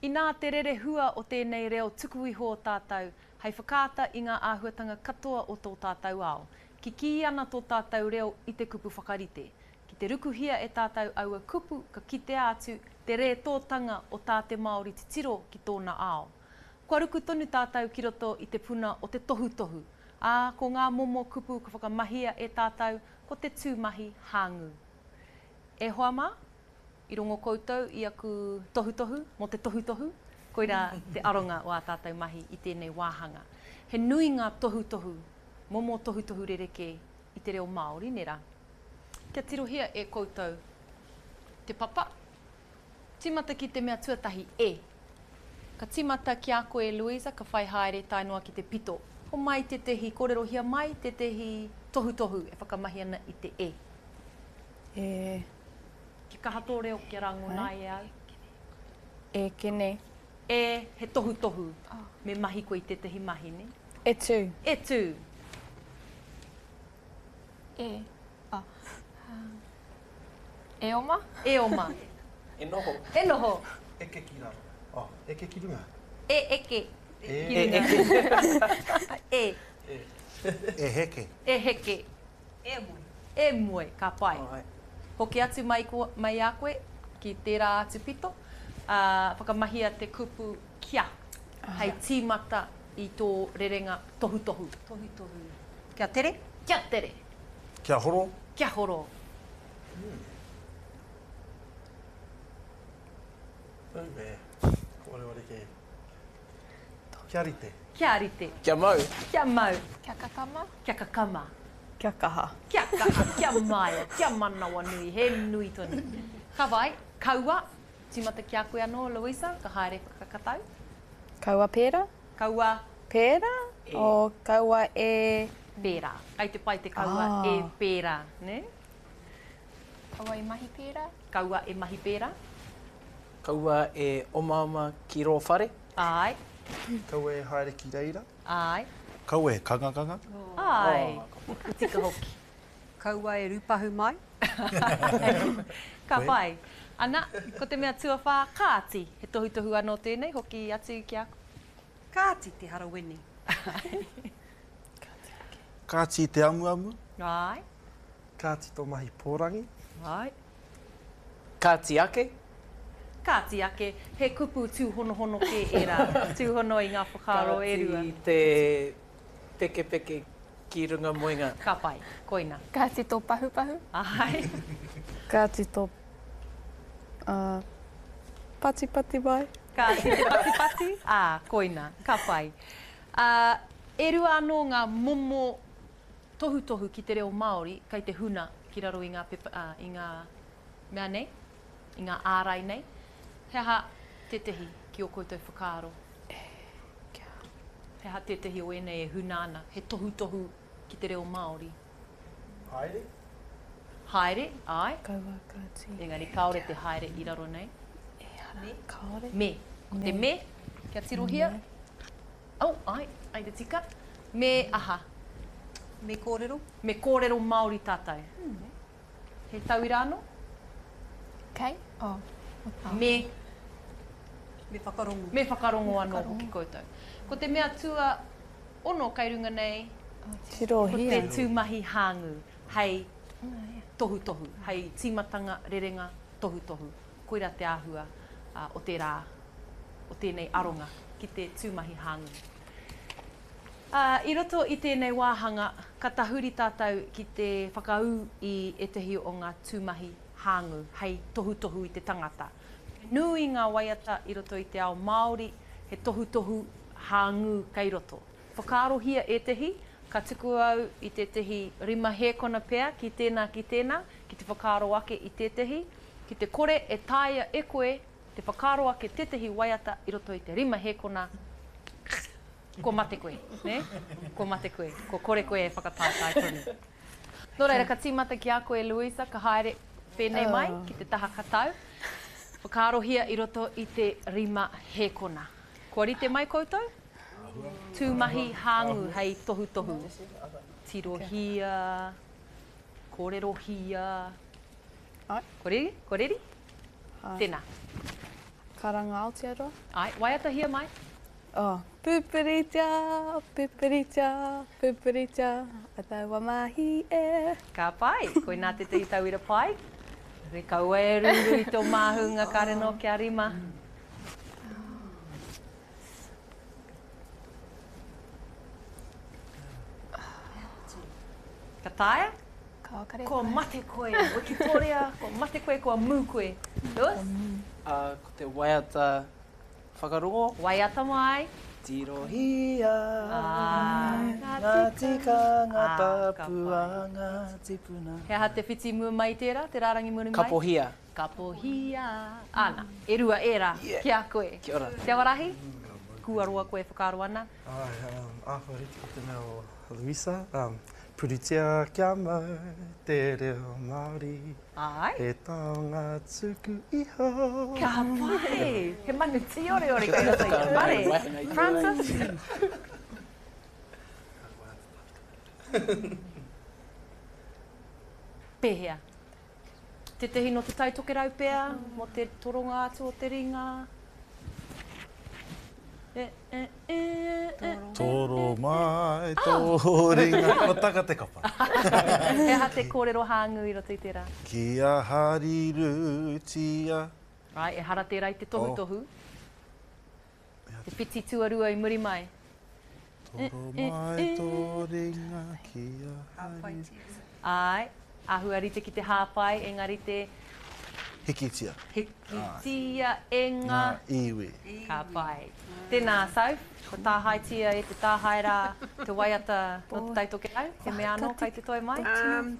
Inā te rerehua o tēnei reo tuku iho o tātou hei whakaata i ngā āhuatanga katoa o tō tātou ao. Kikī ana tō tātou reo i te kupu whakarite. Ki te rukuhia e tātou aua kupu ka kitea atu te rētōtanga o tā te Māori titiro ki tōna ao. Kua ruku tonu tātou ki roto i te puna o te tohutohu, ā, ko ngā momo kupu ka whakamahia e tātou ko te tūmahi hāngū. E hoa mā, i rongo koutou i aku tohutohu mō te tohutohu, koirā te aronga o ā tātou mahi i tēnei wāhanga. He nui ngā tohutohu, momo tohutohu rerekē i te reo Māori, nē rā? Kia tirohia e koutou te papa. Tīmata ki te mea tuatahi, e. Ka tīmata ki a koe, Louisa, ka whai haere tae noa ki te pito. Homai tētehi, kōrerohia mai tētehi tohutohu e whakamahi ana i te e. E. Kia kaha tō reo kia rangona ai e au. E kene. E, he tohutohu. Me mahi koe i tētehi mahi, nē? E tū. E tū. E, a, e oma. E oma. E noho. E noho. Eke ki raro. Oh, eke ki runga. E eke ki runga. E. E. E heke. E heke. E moe. E moe, ka pai. Hoki atu mai, ko, mai a koe ki tērā atu pito, ā, whakamahia te kupu kia hei tīmata i tō rerenga tohutohu. Tohutohu. Kia tere. Kia tere. Kia horo. Kia horo. Auē, ko wareware kē. Kia rite. Kia rite. Kia mau. Kia mau. Kia kakama. Kia kakama. Kia kaha. Kia kaha, kia maia, kia manawanui, he nui tonu. Ka whai, kaua, tīmata ki a koe anō, Louisa, ka haere whakakatau. Kaua pērā? Kaua. Pērā? O kaua e. Pērā. Kei te pai te kaua e pērā, nē? Kaua e mahi pērā. Kaua e mahi pērā. Kaua e omaoma ki rō whare. Āe. Kaua e haere ki reira. Āe. Kaua e kangakanga. Āe. Ka tika hoki. Kaua e rūpahu mai. Ka pai. Ana, ko te mea tuawhā, kāti. He tohutohu anō tēnei, hoki atu ki a koe. Kāti te harawene. Kāti te amuamu. Āe. Kāti tō mahi pōrangi. Āe. Kāti ake. Kāti ake, he kupu tūhonohono kē ērā, tūhono i ngā whakaaro e rua. Kāti te pekepeke ki runga moenga. Ka pai, koina. Kāti tō pahupahu. Āe. Kāti tō patipati mai. Kāti te patipati, ā, koina, ka pai. Ā, e rua anō ngā momo tohutohu ki te reo Māori kei te huna ki raro i ngā pepa, ā, i ngā mea nei, i ngā ārai nei. He aha tētehi ki ō koutou whakaaro? He aha tētehi o ēnei e huna ana, he tohutohu ki te reo Māori? Haere? Haere, āe. Kaua ka tī. Engari kāore te haere i raro nei. Ehara, kāore. Me. Ko te me, kia tirohia. Oh, āe, āe te tika. Me aha? Me kōrero. Me kōrero Māori tātou. He tauira anō? Kei, oh. Me. Me whakarongo. Me whakarongo anō hoki koutou. Ko te mea tua ono kei runga nei, Tirohia. ko te tūmahi hāngū hei tohutohu, hei tīmatanga rerenga tohutohu. Koirā te āhua o te rā, o tēnei aronga ki te tūmahi hāngū. Ā, i roto i tēnei wāhanga, ka tahuri tātou ki te whakaū i ētahi o ngā tūmahi hāngū hei tohutohu i te tangata. He nui ngā waiata i roto i te ao Māori, he tohutohu hāngū kei roto. Whakaarohia ētahi, ka tuku au i tētahi rima hēkona pea ki tēnā ki tēnā, ki te whakaaro ake i tētahi, ki te kore e taea e koe te whakaaro ake tētahi waiata i roto i te rima hēkona, kua mate koe, nē? Kua mate koe, kua kore koe e whakataetae tonu. Nō reira, ka tīmata ki a koe, Louisa, ka haere pēnei mai ki te taha katau. Whakaarohia i roto i te rima hēkona. Kua rite mai koutou? Tūmahi hāngū hei tohutohu. Tirohia, kōrerohia. Kua reri? Kua reri? Tēnā. Karanga Aotearoa. Āe, waiatahia mai. Oh, pupuritia, pupuritia, pupuritia, a taua mahi e. Ka pai, koinā tētahi tauira pai. Kaua e rūrū i tō māhunga, kāre noa kia rima. Ka taea? Ka kare Kua mate koe, Wikitoria, kua mate koe, kua mū koe. Lewis? Uh, ko te waiata whakarongo. Waiata mai. Tirohia ah, ngā tikanga ah, tapu a ngā tipuna. He aha te whiti mua mai tērā, te rārangi muri mai? Kapohia. Kapohia. Ana, e rua ērā yeah. ki a koe. Kia ora. Te Awarahi, kua roa koe e whakaaro ana. Ai, um, āhua rite ki te mea o Luisa, um, puritia kia mau te reo Māori. Ai. He taonga tuku iho. Ka pai! He manu tīoreore kei roto i te whare. Francis? Pēhea? Tētehi nō Te Tai Tokerau pea, mō te toronga atu o te ringa. E, e, e, e, Toro mai tō ringa. Kua taka te kapa. He aha te kōrero hāngū i roto i tērā? Kia harirutia. Āe, ehara tērā i te tohutohu. Te whiti tuarua i muri mai. Toro mai tō ringa kia hari. Āe, āhua rite ki te hāpai, engari te. Hikitia. Hikitia e ngā. Ngā iwi. Ka pai. Tēnā, Soph, kua tāhaetia e te tāhae rā te waiata nō Te Tai Tokerau, he mea anō kai te toe mai?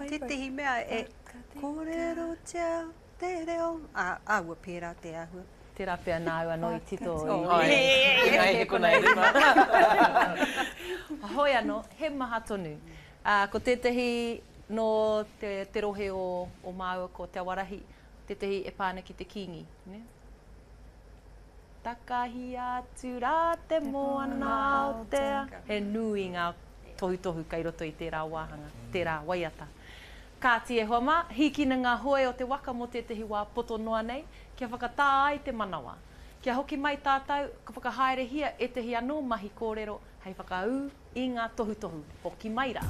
Tētehi mea e kōrerotia Te reo, ā, āhua pērā te āhua. Tērā pea nāu anō i tito i. Āe, he konei rima. Hoi anō, he maha tonu. Ā, ko tētahi nō te, te rohe o, o māua ko Te Awarahi, tētahi e pā ana ki te Kīngi, nē? Takahia atu rā te moana Aotea. He nui ngā tohutohu kei roto i tērā wāhanga, tērā waiata. Kāti e hoa mā, hīkina ngā hoe o te waka mō tētahi wā poto noa nei, kia whakatā ai te manawa. Kia hoki mai tātou, ka whakahaerehia ētahi anō mahi kōrero hei whakaū i ngā tohutohu. Hoki mai rā!